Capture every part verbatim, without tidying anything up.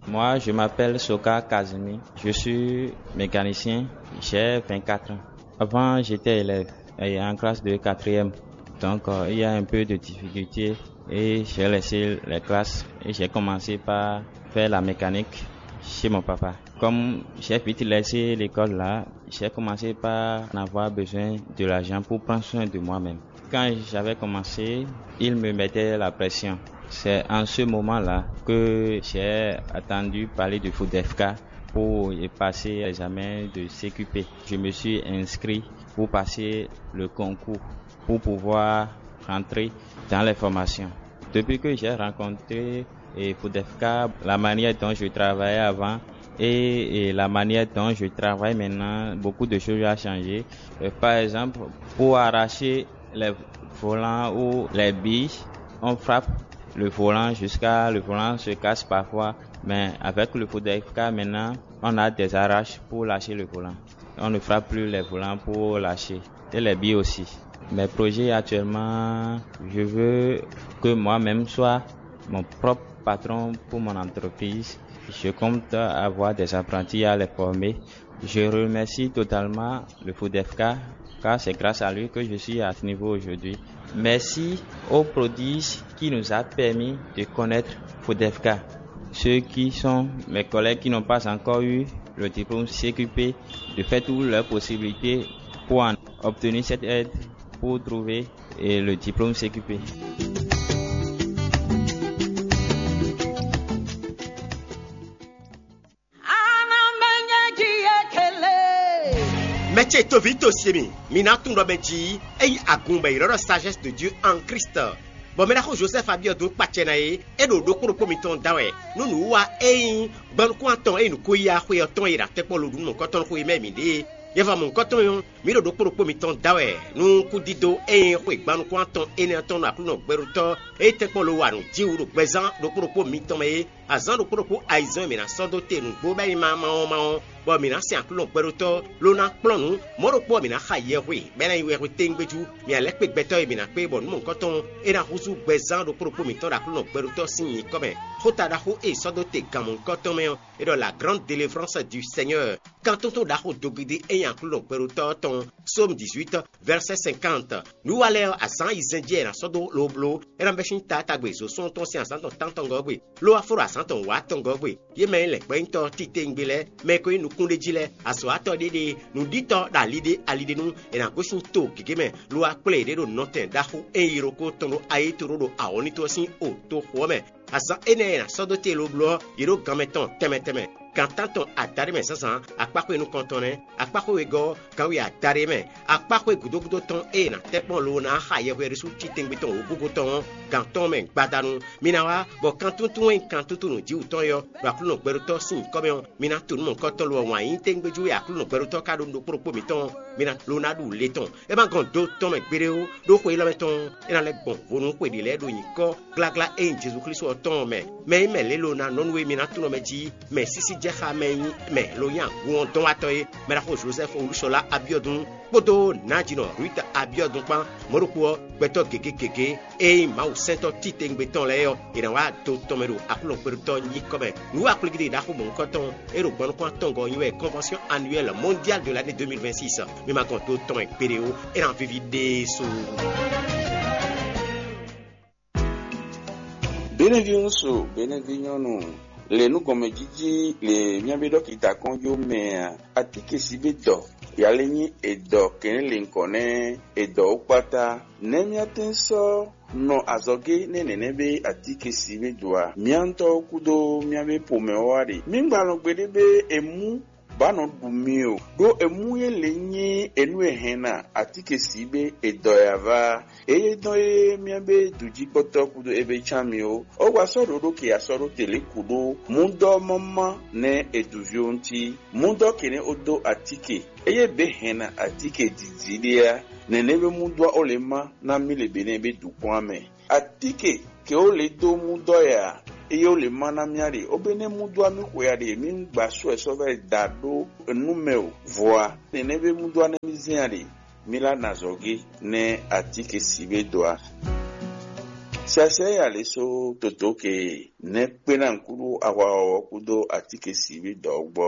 Moi, je m'appelle Soka Kazumi. Je suis mécanicien. J'ai vingt-quatre ans. Avant, j'étais élève et en classe de quatrième. Donc, euh, il y a un peu de difficulté et j'ai laissé les classes et j'ai commencé par faire la mécanique chez mon papa. Comme j'ai vite laissé l'école là, j'ai commencé par en avoir besoin de l'argent pour prendre soin de moi-même. Quand j'avais commencé, il me mettait la pression. C'est en ce moment-là que j'ai entendu parler de Foudefka pour y passer l'examen de C Q P. Je me suis inscrit pour passer le concours, pour pouvoir rentrer dans les formations. Depuis que j'ai rencontré et Foudefka, la manière dont je travaillais avant et, et la manière dont je travaille maintenant, beaucoup de choses ont changé. Euh, par exemple, pour arracher les volants ou les billes, on frappe le volant jusqu'à le volant se casse parfois. Mais avec le Foudefka maintenant, on a des arraches pour lâcher le volant. On ne frappe plus les volants pour lâcher. Et les billes aussi. Mes projets actuellement, je veux que moi-même soit mon propre patron pour mon entreprise. Je compte avoir des apprentis à les former. Je remercie totalement le Foudefka, car c'est grâce à lui que je suis à ce niveau aujourd'hui. Merci au prodige qui nous a permis de connaître Foudefka. Ceux qui sont mes collègues qui n'ont pas encore eu le diplôme C Q P, de faire toutes leurs possibilités pour en obtenir cette aide, pour trouver, eh, le diplôme C Q P. Mɛ ce toví to se mi, mi ná tunwun ɖɔ mɛ jí é nyí agun bɔ è ylɔ́ ɖɔ sagesse de Dieu en Christ. Bɔ mɛ ɖaxó Joseph Abiɔdun kpacɛ ná é, é ɖo ɖokpó ɖokpó mitɔn da wɛ. Nú nǔwiwa é nyí gbanukún atɔn é nyí nǔkó yíyá xwe ɔ́ tɔn e ɖo atɛ́kpɔ́ lo ɖu nú mɔ̌hunkɔtɔn xwe mɛ mǐ ɖe é. Yɛ́famɔ̌hunkɔtɔn ɔ́, mǐ ɖo ɖokpó ɖokpó mitɔn da wɛ nú kúdídó e nyí xwe gbanukún atɔn énɛ́ ɔ́ tɔn ɖo Aklúnɔ gbɛɖótɔ́ e tɛ́nkpɔ́n lo wa nǔ jí wú ɖo gbɛzán ɖokpó ɖokpó mitɔn mɛ é. Azǎn ɖokpó ɖokpó ayizɛ́n e mǐ ná sɔ́ dó te nǔgbó bɔ é nyí ma ma ɔ́ ma ɔ́, bɔ mǐ ná sɛn Aklúnɔ gbɛɖótɔ́ ló ná kplɔ́n nǔ. Mɔ̌ ɖokpó ɔ́, mǐ ná xa yɛhwe, bɔ é ná nyí wɛhwe téŋgbéjú. Mǐ ná lɛ́ kpé gbɛtɔ́ e mǐ ná kpé bɔ nǔ mɔ̌hunkɔtɔn ɔ́, é ná húzú gbɛzán ɖokpó ɖokpó mǐtɔn ɖo Aklúnɔ gbɛɖótɔ́ sín nyǐkɔ mɛ. Xóta ɖaxó e è sɔ́ dó te gan mɔ̌hunkɔtɔn mɛ ɔ́, é ɖɔ la grande délivrance du Seigneur. Kan tótó ɖaxó dogidi e nyí Aklúnɔ gbɛɖótɔ́ ɔ́ tɔn. Psaume dix-huit, verset cinquante. Nǔ wa lɛ́ɛ ɔ́, azǎn ayizɛ́n jí wɛ è nǎ sɔ́ dó lobló. É ná bɛ́ sín taatagbe zǒsɔ́ntɔn sín azǎn tɔn tántɔngɔ́ gbe, ló wá fó ɖo azǎn tɔn wǎtɔngɔ́ gbe. Yě mɛ e nyí lɛ̌ngbɔ́nyitɔ́ titewungbe lɛ́ɛ, mɛ e ko nyí nukúnɖéjí lɛ́ɛ, azɔ̌watɔ́ ɖéɖée, nǔɖítɔ́ ɖo aliɖé aliɖénú, è nǎ gosín to gěgé mɛ, lo wá kplé yěɖée ɖo nɔtɛn ɖaxó e nyí yilókó tɔn ɖo Ayítoɖó ɖo awɔ̌nítɔ́ sín o toxo ɔ́ mɛ. Azǎn énɛ́ e è nǎ sɔ́ dó te lobló ɔ́, yě ɖo ganmɛ tɔn tɛnmɛ tɛnmɛ. Gan tántɔn adaɖé mɛ zǎnzǎn, akpáxwé nukɔntɔn nɛ́, akpáxwé wegɔ́ ɔ́, ganwe adaɖé mɛ, akpáxwé gǔdo gúdo tɔn e è nǎ tɛ́ kpɔ́n lo ná xa yɛhwe ɖésú titewungbe tɔn wǒgúgú tɔn ɔ́, gan tɔn mɛ gbadanu. Mi ná wá, bɔ kan túntún e nyí kan túntún nǔjíwǔtɔn é ɔ́, ɖo Aklúnɔ gbɛɖótɔ́ sín nyǐkɔ mɛ ɔ́, mi ná tunú mɔ̌hunkɔtɔn lo ɔ́ wǎn yí tégbéjú e Aklúnɔ gbɛɖótɔ́ ka ɖó nú ɖokpó ɖokpó mǐtɔn ɔ́, mi ná lo ná ɖu le tɔn. É ma gɔn do tɔn mɛ gbeɖé ó, ɖó xwe élɔ́ mɛ tɔn ɔ́, é ná lɛ́ gbɔn vo nú xwe ɖě lɛ́ɛ ɖo nyǐkɔ gbláglá e nyí Jezu Klísu ɔ́ tɔn ɔ́ mɛ. Mɛ e mɛ lě lo ná nɔ nú we mi ná tunɔ mɛ jí, mɛ sísí jɛ xá mɛ e nyí mɛ lo nyí agun ɔ́ dɔn wá tɔn é, mɛ ɖaxó Jozɛ́fu Olúṣɔlá Abiɔdun kpódó nǎjínɔ Ruth Abiɔdun kpán, mɔ̌ ɖokpó ɔ́, gbɛtɔ́ gěgé gěgé e nyí Mawu sɛntɔ́ titewungbe tɔn lɛ́ɛ ɔ́, è nǎ wá do tɔn mɛ ɖo Aklúnɔ gbɛɖótɔ́ nyíkɔ mɛ. Nǔ wa kplígídí ɖaxó mɔ̌hunkɔtɔn e ɖo gbɔn nukún atɔngɔ́ ɔ́ nyi wɛ Convention Annuelle Mondiale de l'année deux mille vingt-six. Mi ma gɔn do tɔn mɛ gbeɖé ó, é ná víví ɖésú. Benɛví ŋúsu, benɛví nyɔ́nu, le nú gɔnmɛjíjí le mía bí ɖɔkita kɔn jó mɛ a? Atíkesibédɔ, yalé nyí edɔ kɛnlɛ́nlɛ̌nkɔ nɛ́ edɔ ó kpátá. Nɛ̌ mía tɛ́n sɔ́ nɔ azɔ̌gé nɛ́ nɛ̌nɛ́ bé atíkesibédɔ a? Mía ŋutɔ́ kúdó mía bé xomɛ ɔ́ wá ɖe. Mí gbalɔn gbeɖé bé è mú bǎ nɔ ɖu mi o, ɖó emú yě lě nyí enú e hɛn ná atíkesibé edɔ e ava. Eye dɔn e mía bé dǔjíkpɔ́tɔ́ kúdó ebe cán mi ó. Ó wa sɔ́ ɖǒ ɖó ke asɔ́ ɖó te lě kú ɖó múdɔ́ mɔ́mɔ́ nɛ́ è dǔ ví ɔ́ ŋuti. Múdɔ́ kɛnɛ́ ó dó atíke, eye bě hɛn ná atíke dǐdí ɖé á. Nɛ̌nɛ́ wé múdɔ́ ó lě má ná mí le běnɛ́ bé dǔkpɔ́n á mɛ. Atíke ke ó lě dó múdɔ́ ya, eye ó lě má ná mía ɖe, ó bé nɛ́ múdɔ́ á mí xwe ya ɖe mí gbǎ sɔ́ wɛ sɔ́ vɛ́ da ɖó nú mɛ o. Vɔ̌ a, nɛ̌nɛ́ bé múdɔ́ á nɛ́ mí zɛ́n a ɖe. Mila Nazɔge nɛ́ atíkesibédɔ a? Siasɛ ya lě só totó ke nɛ́ kpé ná kúɖú ahwa ɔ́ kúdó atíke sǐví dɔ̌gbɔ.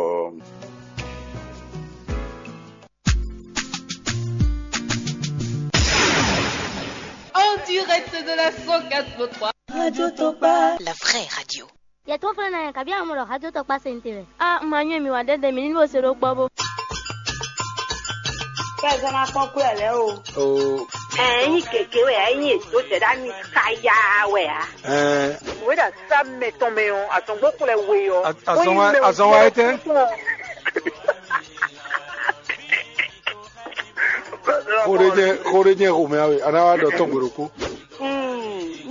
En direct de la cent quatre point trois. Radio Tokpa. La vraie radio. Yɛ tó flɛ́ ná yɛ kabi amɔ ɖɔ hajó tɔkpá sɛn te wɛ. A ma nyɔ́ mi wá ɖɛɖɛ mi ní bó se ɖó kpɔ́ bó. Kɛzɔ́ ná kpɔ́n kú ɛ lɛ́ o. Ɛ nyí gěgé wɛ ɛ nyí èdó zɛ̌ ɖó ami káyá wɛ ǎ. Ɛɛ Wěɖa sá mɛ tɔn mɛ ɔ́, azɔngbókun lɛ we ɔ́. Azɔn wa- azɔn wa etɛ́? Xó ɖé jɛ xó ɖé jɛ xomɛ awe, a ná wá ɖɔ tɔn gbe ɖokpó.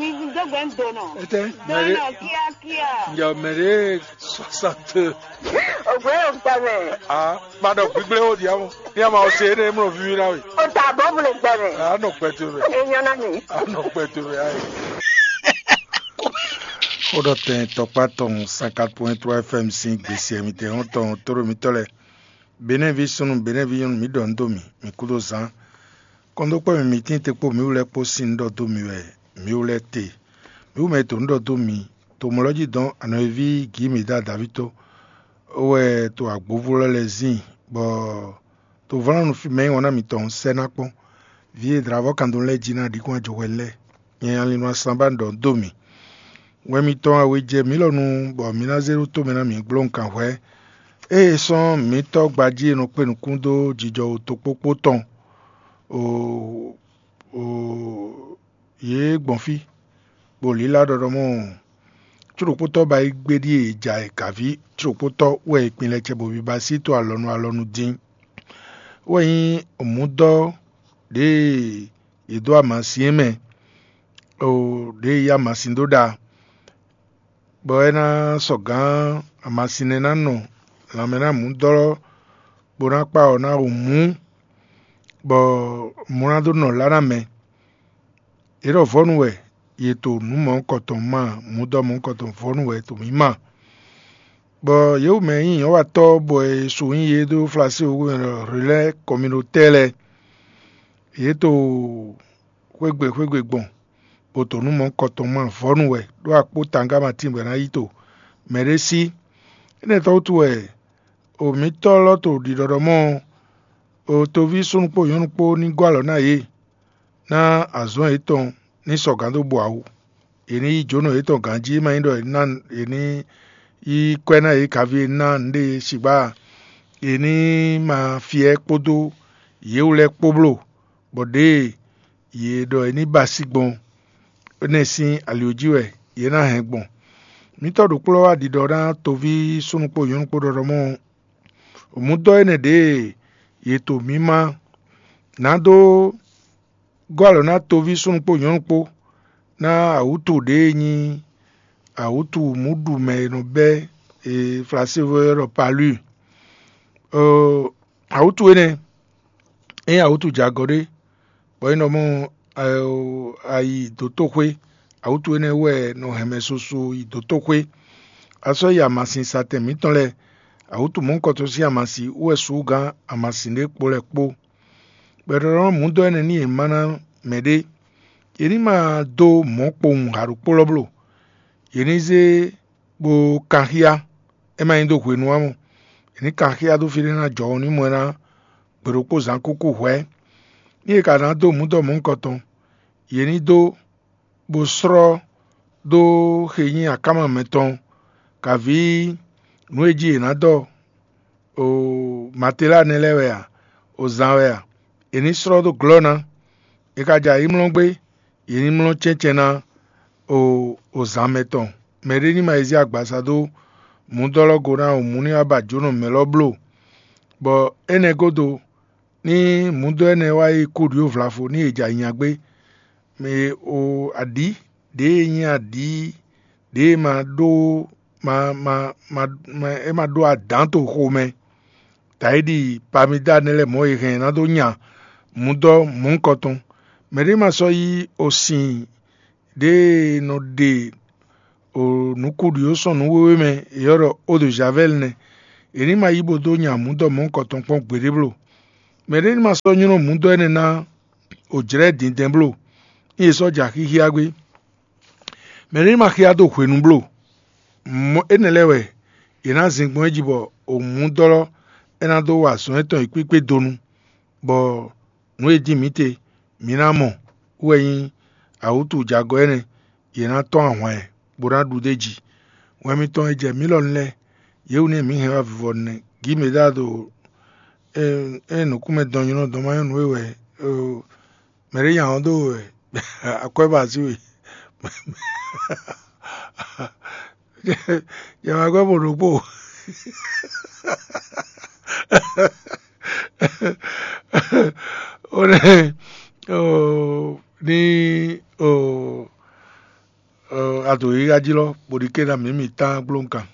Mi dó gbɛ ń do nɔ. Etɛ́? Mɛ ɖé Dɔnɔ kíákíá. Njɔ mɛ ɖé soixante. Ògbé yóò gbẹ mɛ. Ah, ma ɖɔ gbígbléwó ɖi amɔ. Ní a ma ɔ se énɛ́ mlɔ víví ná we. O ta bɔ mu le gbẹ mɛ. A nɔ gbɛ towe mɛ. Enyɔ na mi. A nɔ gbɛ towe mɛ ayi. Xó ɖɔ tɛn tɔkpá tɔn cinquante point trois F M sín gbèsè mǐtɛn hɔn tɔn tóɖó mǐtɔn lɛ. Benɛ́ví súnnu, Benɛ́ví nyɔ́nu, mǐ ɖɔ nǔ dó mì, mǐ kúdó zán. Kɔn dó kpɔ́ mì, mǐ tíin te kpó mǐ wú lɛ́ɛ kpó sín nǔ ɖɔ dó mì wɛ mǐ wú lɛ́ɛ te. Mǐ wú mɛ e to nǔ ɖɔ dó mi, to mɔ̌ lɔ jí dɔn anɔ̌yíví Gǐmida Davíto wɛ to agbǒvú lɔ lɛ́ɛ zin, bɔ to vlanu fí mɛ e nyí wɔ̌n ná mitɔn sɛ́ ná kpɔ́n. Vǐ e dlǎvɔ́ kan dó lɛ́ɛ jí ná ɖi kún ajɔhwɛ lɛ́ɛ. Nyɛ Alinu Asanbá ɖɔ dó mì. Wɛn mitɔn awe jɛ mǐ lɔ nu, bɔ mǐ ná zé ɖó tomɛ ná mǐ gbló nǔkanhwɛ. Ée sɔ́n mǐtɔ́ gbají e nɔ kpé nukún dó jijɔ tokpókpó tɔn, o, o, yě gbɔn fí, bó lílá ɖɔɖɔmɔ cóɖokpótɔ́ ba yi gbé ɖíe è ja è gǎví cóɖokpótɔ́ wɛ è kpin lɛ cɛ bɔ biba sí to alɔnu alɔnu dín. Wɛ nyí mǔdɔ́ ɖěe yě dó amasin é mɛ, o ɖěe yí amasin dó ɖa, bɔ é ná sɔ gǎn amasin nɛ́ ná nɔ lanmɛ ná mǔdɔ́ bó ná kpa ɔ́ ná hu mǔ, bɔ mǔ ná dó nɔ lá ná mɛ. Yě ɖɔ vɔ̌nu wɛ yě to nǔ mɔ̌hunkɔtɔn ma, mǔdɔ́ mɔ̌hunkɔtɔn vɔ̌nu wɛ to mǐ ma. Bɔ yě wú mɛ e nyí nyɔ̌watɔ́ bɔ è su nyí yě dó Flaséwúgbɛ́mɛ ɖɔ Relais Communautaire lɛ́ɛ, yě to xwégbe xwégbe gbɔn, bó to nǔ mɔ̌hunkɔtɔn ma vɔ̌nu wɛ ɖó akpó tangá ma tíngbɛ ná yi to mɛɖé sí. Énɛ́ tɔ́ wútu wɛ o mǐtɔ́ lɔ to ɖiɖɔɖɔmɔ o toví súnnu kpó nyɔ̌nu kpó ní gɔ́ alɔ ná yě, ná azɔ̌ yětɔn ní sɔgǎn dó bɔ awu. Yě ní yí jǒnɔ yětɔn ganjí, é ma nyí ɖɔ yě ní yí kwɛ́ ná yě kaví e ná nǔɖé sigba a? Yě ní ma fyɛ́ kpódó yě wú lɛ́ɛ kpó bló, bɔ ɖěe yě ɖɔ é ní ba sí gbɔn énɛ́ sín ali jí wɛ yě ná hɛn gbɔn. Mǐtɔn ɖokplɔ́ wá ɖiɖɔ ná toví súnnu kpó nyɔ̌nu kpó ɖɔɖɔmɔ mǔdɔ́ énɛ́ ɖě e yě to mǐ má ná dó gɔ́ alɔ ná toví súnnu kpó nyɔ̌nu kpó ná awǔtu ɖě e nyí awǔtu mǔɖumɛ e nɔ bɛ́ e Flasévo e ɖɔ palú. Awǔtu énɛ́ é nyí awǔtu jɛ agɔ ɖé, bɔ é nɔ mɔ ayi dǒtoxwé. Awǔtu énɛ́ wɛ nɔ hɛn mɛ soso yi dǒtoxwé. A sɔ́ yi amasin satɛn mǐtɔn lɛ́ɛ, awǔtu mɔ̌hunkɔtɔn sín amasin wú wɛ sǔ gán amasin ɖé kpo lɛ́ɛ kpó. Bɔ è ɖɔ mǔdɔ́ énɛ́ n'i è ma ná mɛɖé. Yě ní ma dó mɔ̌ kpowun ha ɖokpó lɔ bló. Yě ní zé bó kanxíá, é ma nyí dó hwenu ǎ mɔ. Yě ní kanxíá dó fí ɖé ná jɔ ní mɔ ɛ ná gbe ɖokpó zǎn kúkú hwɛ̌. Ní è ka ná dó mǔdɔ́ mɔ̌hunkɔtɔn, yě ní dó bó slɔ́ dó xe nyí akáma mɛtɔn, kaví nǔ e jí è nǎ dɔ o Matelá nɛ́ lɛ́ɛ wɛ a, o zan wɛ a? È ní slɔ́ dó glɔ́ ná. È ka ja yi mlɔ́ gbé, yě ní mlɔ́ cɛ́ncɛ́n ná o o zan mɛ tɔn. Mɛɖé ní ma yi zé agbaza dó mǔdɔ́lɔ́go ná o mǔ ní wá ba jǒnɔ mɛ lɔ bló. Bɔ énɛ́ gúdo, ní mǔdɔ́ énɛ́ wá yi kúɖió vlafo ní è ja nya gbé. Mɛ o aɖǐ ɖěe nyí aɖǐ ɖěe ma ɖó ma ma ma ma é ma ɖó adǎn to xomɛ. Dayiɖi pamidá nɛ́ lɛ́ɛ mɔ̌ è hɛn ná dó nya mǔdɔ́ mɔ̌hunkɔtɔn. Mɛɖé ma sɔ́ yí osin ɖěe nɔ ɖe o nǔkúɖió sɔn nǔ wéwé mɛ è ylɔ́ ɖɔ eau de javel nɛ́. È ní ma yí bó dó nya mǔdɔ́ mɔ̌hunkɔtɔn kpɔ́n gbeɖé bló. Mɛɖé ní ma sɔ́ nylɔ́ mǔdɔ́ énɛ́ ná o jlɛ̌ dǐndɛ́n bló, ní è sɔ́ ja xíxíá gbé. Mɛ̌ nɔ yi ma xyá dó hwenu bló? Mɔ̌ énɛ́ lɛ́ɛ wɛ è nǎ zin gbɔn é jí bɔ òmǔdɔ́lɔ́ é ná dó wa azɔ̌ yětɔn e kpíkpé donu, bɔ nǔ e jí mǐ te mǐ ná mɔ wú wɛ nyí awǔtujagɔ́ énɛ́; yě ná tɔ́n ahwan ɛ, bó ná ɖu d'é jí. Wɛn mitɔn e jɛ mǐ lɔ lɛ́ɛ, yě wú nɛ́ mǐ hɛn wá vivɔ nɛ́. Gǐ mǐ ɖa ɖo ée nǔkúnmɛ dɔn nylɔ́ dɔn ma nyɔ́ nú we wɛ, mɛ̌ ɖé nya ɔ́ dó wɛ akwɛ́ ba así we. Yɛ wá gbɛ́ mɔ ɖokpó. Ó nɛ́ ní a dǒ yíyá jí lɔ bó ɖi ké ná mǐ mǐ tán gblónkan.